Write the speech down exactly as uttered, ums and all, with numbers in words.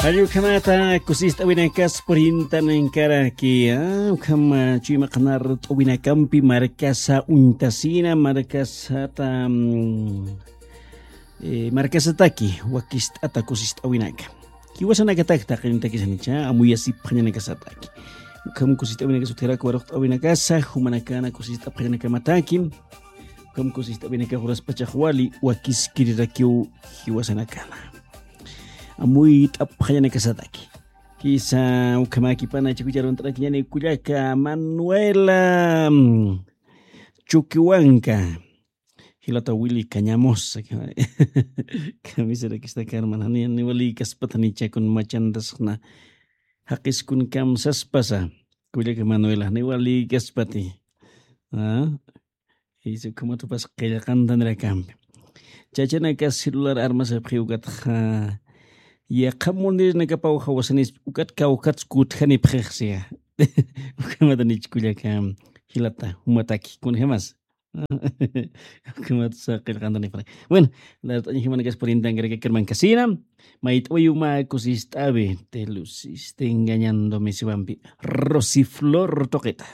Jallukhamata kusist'awinakas purintanankaraki, ukham chuyma qhanar t'uwinakampi markasa uñtasina markasata markasataki wakist'ata kusist'awinaka. Jiwasanakatak taqintakisanicha amuyasipxañanakasataki. Ukham kusist'awinakas utjarak waruqt'awinakasa jumanakana kusist'apxañanakamataki. Ukham kusist'awinakax uraspachax wali wakiskirirakiw jiwasanakana. Amuyt'apxañanakasataki. Kisa ukhamäkipana chikucharuntrakiñani kullaka Manuela chukiwanka. Jilata wili kañamusa. Kamisarakistakarman janiya niwalïkaspata nichakun machantasxna jaqiskun kamsaspasa. Kullaka Manuela niwalïkaspati. Jisa ukhamatupas qillqantanirakampi. Chachanakas celular armasapxi ukatxa yaqha mundirinakapaw jawasanis ukat kawkats kutjanipxixsiya. Ukhamatanichkullaka jilata jumataki kunjamas. Ukhamat saqillqantanipxi. Bueno, lart'añjimanakas purintankarakakarman kasina mayt'awayuma kusist'awi te lusiste engañando misiwampi rosiflor toqeta.